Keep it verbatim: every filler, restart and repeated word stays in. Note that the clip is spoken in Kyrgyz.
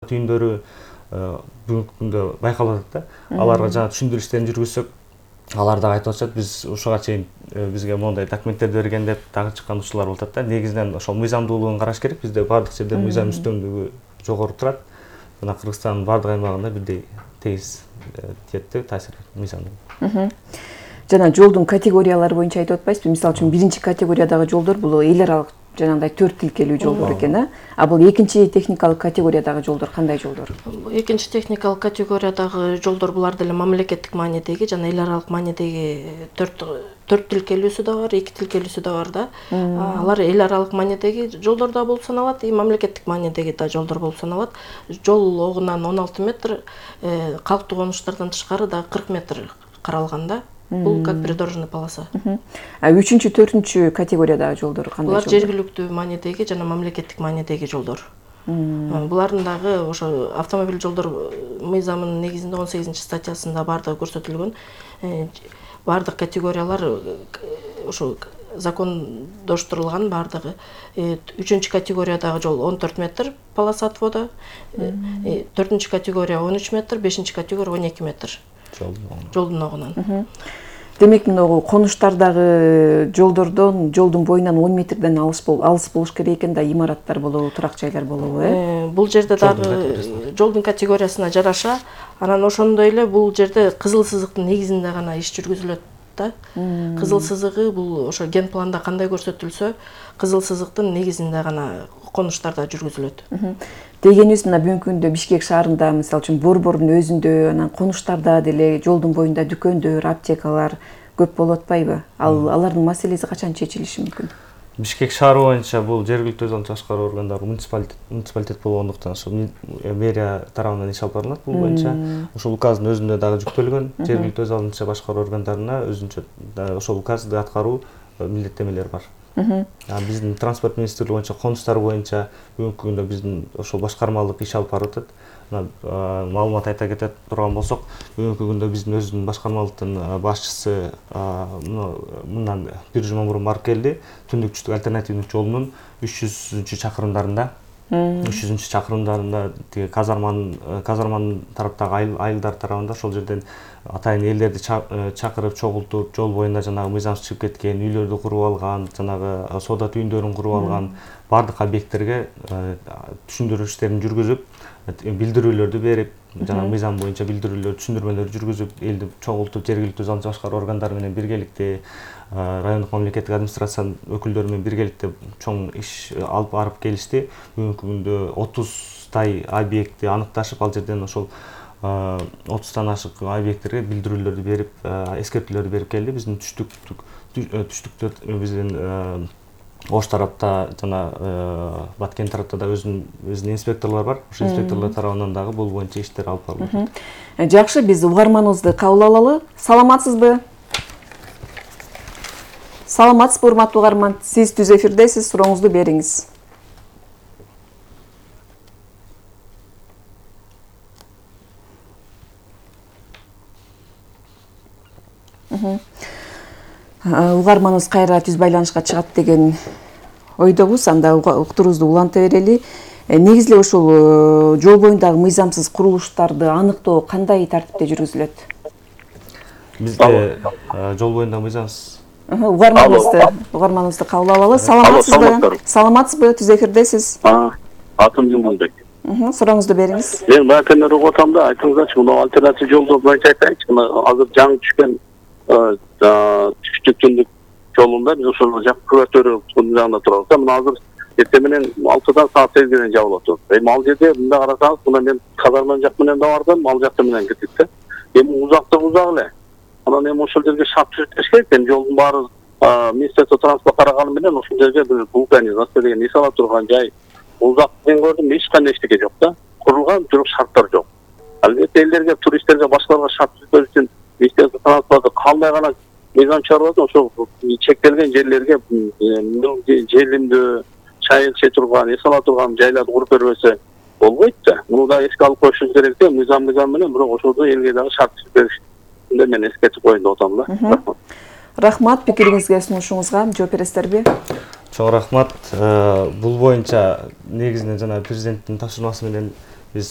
түйүндөрү бүгүнкү күндө байкалып атат да. Аларга жана түшүндүрүштөрүн жүргүзсөк, алар да айтып атышат, биз ушуга чейин бизге мондай документтерди берген деп дагы чыккан учурлар болуп атат да. Негизинен ошол мыйзамдуулугун караш керек. Бизде бардык жерде мыйзам үстөмдүгү жогору турат. Жана Кыргызстандын бардык аймагында бирдей тегиз тиет деп таасир мыйзамдуу. Жана жолдун категориялары боюнча айтып атпайсызбы? Мисалы үчүн биринчи категориядагы жолдор бул эл аралык жанагындай төрт тилкелүү жолдор экен, а? А бул экинчи техникалык категориядагы жолдор кандай жолдор? Экинчи техникалык категориядагы жолдор булар деле мамлекеттик маанидеги жана эл аралык маанидеги төрт төрт тилкелүүсү да бар, эки тилкелүүсү да бар да. Алар эл аралык маанидеги жолдор да болуп саналат, и мамлекеттик маанидеги да жолдор болуп саналат. Жол огунан он алты метр, калктуу конуштардан тышкары да кырк метр каралган да. Бул как придорожный полоса. А үчүнчү, төртүнчү категориядагы жолдор кандай жолдор? Булар жергиликтүү маанидеги жана мамлекеттик маанидеги жолдор. Булардын дагы ошо автомобиль жолдор мыйзамынын негизинде он сегизинчи статьясында бардыгы көрсөтүлгөн. Бардык категориялар ошо закондоштурулган бардыгы. Үчүнчү категориядагы жол он төрт метр полоса отвода, төртүнчү категория он үч метр, бешинчи категория он эки метр. Жолдун огунан. Демек, мына конуштардагы жолдордон, жолдун боюнан он метрден алыс бол, алыс болуш керек экен да, имараттар болобу, турак жайлар болобу, э? Бул жерде дагы жолдун категориясына жараша, анан ошондой эле бул жерде кызыл сызыктын негизинде гана иш жүргүзүлөт да. Кызыл сызыгы бул ошо ген планда кандай көрсөтүлсө, кызыл сызыктын негизинде гана конуштарда жүргүзүлөт. Дегенибиз, мына бүгүнкү күндө Бишкек шаарында, мисалы үчүн Борбордун өзүндө, анан конуштарда деле жолдун боюнда дүкөндөр, аптекалар көп болуп атпайбы? Ал алардын маселеси качан чечилиши мүмкүн? Бишкек шаары боюнча бул жергиликтүү өз алдын башкаруу органдары муниципалитет муниципалитет болгондуктан ошо мэрия тарабынан иш алып барылат бул боюнча. Ошол указдын өзүндө дагы жүктөлгөн жергиликтүү өз алдын башкаруу органдарына өзүнчө ошол указды аткаруу милдеттемелери бар. Биздин транспорт министрлиги боюнча конуштар боюнча бүгүнкү күндө биздин ошол башкармалык иш алып барып атат. Маалымат айта кетет турган болсок, бүгүнкү күндө биздин өзүнүн башкармалыктын башчысы мындан бир жума мурун барып келди. Түндүк түштүк альтернативдик жолунун үч жүзүнчү чакырымдарында үч жүзүнчү чакырымдарында тиги казарманын казарманын тараптагы айылдар тарабында ошол жерден атайын элдерди чакырып, чогултуп, жол боюнда жанагы мыйзамсыз чыгып кеткен үйлөрдү куруп алган, жанагы соода түйүндөрүн куруп алган бардык объекттерге түшүндүрүштөрүн жүргүзүп, билдирүүлөрдү берип, жана мыйзам боюнча билдирүүлөр, түшүндүрмөлөр жүргүзүп, элди чогултуп, жергиликтүү өз алдын башкаруу органдары менен биргеликте, райондук мамлекеттик администрациянын өкүлдөрү менен биргеликте чоң иш алып барып келишти. Бүгүнкү күндө отуздай объектти аныкташып, ал жерден ошол отуздан ашык объекттерге билдирүүлөрдү берип, эскертүүлөрдү берип келди. Биздин түштүк түштүктө биздин Ош тарапта жана Баткен тарапта да өзүнүн инспекторлор бар. Ошол инспекторлор тарабынан дагы бул боюнча иштер алып барылат. Жакшы, биз угарманыбызды кабыл алалы. Саламатсызбы? Саламатсызбы, урматтуу угарман? Сиз түз эфирдесиз, сурооңузду бериңиз. Угарманыбыз кайра түз байланышка чыгат деген ойдобуз. Анда уктуруубузду уланта берели. Негизи эле ушул жол боюндагы мыйзамсыз курулуштарды аныктоо кандай тартипте жүргүзүлөт? Бизде жол боюндагы мыйзамсыз угарманыбызды угарманыбызды кабыл алалы. Саламатсызбы? Саламатсызбы? Түз эфирдесиз. Атым Жумбулбек. Сурооңузду бериңиз. Мен бакенер угуп атам да, айтыңыздарчы, мына альтернатив жолдор боюнча айтайынчы. Азыр жаңы түшкөн түштүк түндүк жолунда биз ошол жак күбөтөрү жагында турабыз. Мына азыр эртең менен алтыдан саат сегизге чейин жабылып атат. Эми ал жерде мында карасаңыз, мына мен казарман жак менен да бардым, ал жакта менен кеттик да. Эми узактык узак эле. Анан эми ошол жерге шарт түзүш керек экен. Жолдун баары Министерство транспорт караганы менен ошол жерге бир вулканизация деген иш ала турган жай. Узак мен көрдүм, эч кандай эчтеке жок да. Курулган бирок шарттар жок. Албетте элдерге, туристтерге, башкаларга шарт түзүү үчүн Министерство транспорту кандай гана мыйзам чыгарып атат, ошол чектелген жерлерге желимдүү, чай иче турган, эс ала турган жайларды куруп бербесе болбойт да. Муну да эске алып коюшубуз керек да, мыйзам мыйзам менен, бирок ошолдо элге дагы шарт түзүп беришинде мен эскертип коеюн деп атам да. Рахмат, пикириңизге, сунушуңузга жооп бересиздерби? Чоң рахмат. Бул боюнча негизинен жана президенттин тапшырмасы менен биз